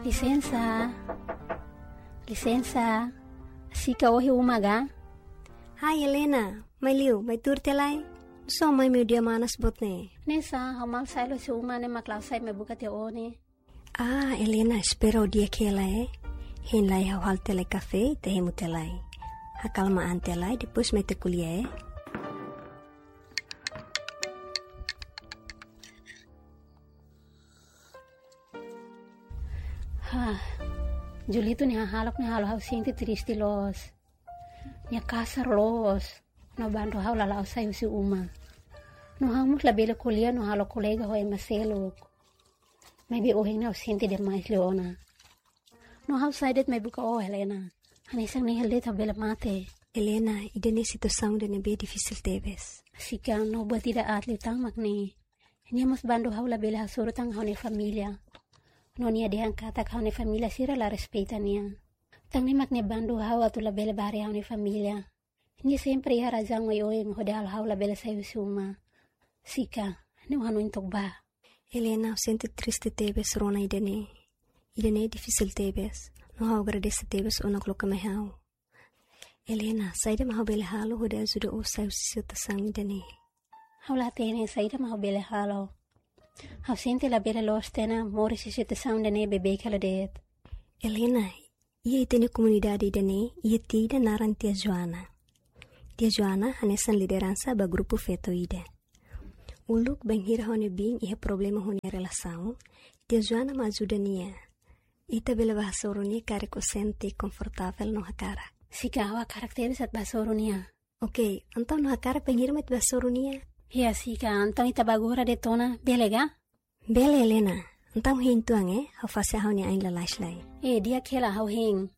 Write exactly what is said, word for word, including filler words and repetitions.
Lisensa. Lisensa. Sika, ó iha uma ka? Hai, Helena. Mai liu, mai tuur tiha lai. Só mai meiudia manas boot ne'e. Ne'e sá, ha'u malu sai loos husi uma ne'e mak la'o sai mai buka tiha ó ne'e. Ah, Helena, espera ó di'ak hela, eh. Hein lai ha'u halo tiha lai kafé, ita hemu tiha lai. Akalma an tiha lai, depois mai ita ko'alia, eh. Hah, Julito nia hahalok ne'e halo ha'u sente triste loos. Nia kasar loos. No bandu ha'u la la'o sai husi uma. No ha'u mós labele ko'alia no halo kolega ho ema seluk. Maibé ohin ne'e ha'u sente demais liu ona. No ha'u sai de'it mai buka ó, Helena. Hanesan ne'e hela de'it ha'u bele mate. Helena, ida-ne'e situasaun ida ne'ebé difisil tebes. Sika, no buat ida aat liután mak ne'e. Nia mós bandu ha'u labele hasoru tan ha'u-nia família. No nia dehan katak ha'u-nia família sira la respeita nia. Tan ne'e mak nia bandu ha'u atu labele bá haree ha'u-nia família. Nia sempre iha razaun oioin hodi halo ha'u labele sai husi uma. Sika, ne'e hanoin took bá. Helena, ha'u sente triste tebes rona ida-ne'e. Ida-ne'e difisil tebes. No ha'u agradese tebes ona koloka mai ha'u. Helena, saida mak ha'u bele halo hodi ajuda ó sai husi situasaun ida-ne'e? Ha'u la hatene saida mak ha'u bele halo. Ha'u sente labele loos tiha ona moris iha situasaun ida-ne'e beibeik hela de'it. Helena, iha ita-nia komunidade ida-ne'e, iha tia ida naran Tia Joana. Tia Joana hanesan lideransa ba grupu feto ida. Uluk bainhira ha'u-nia biin iha problema ho nia relasaun, Tia Joana mak ajuda nia. Ita bele bá hasoru nia karik ó sente konfortavel no hakarak. Sika, ha'u hakarak tebes atu bá hasoru nia. Oke, entaun ó hakarak bainhira mak ita bá hasoru nia? Iha, Sika, entaun ita bá agora de'it ona, bele ka? Bele, Helena. Entaun hein uitoan, eh, ha'u fase ha'u-nia ain lalais lai. Eh, di'ak hela, ha'u hein.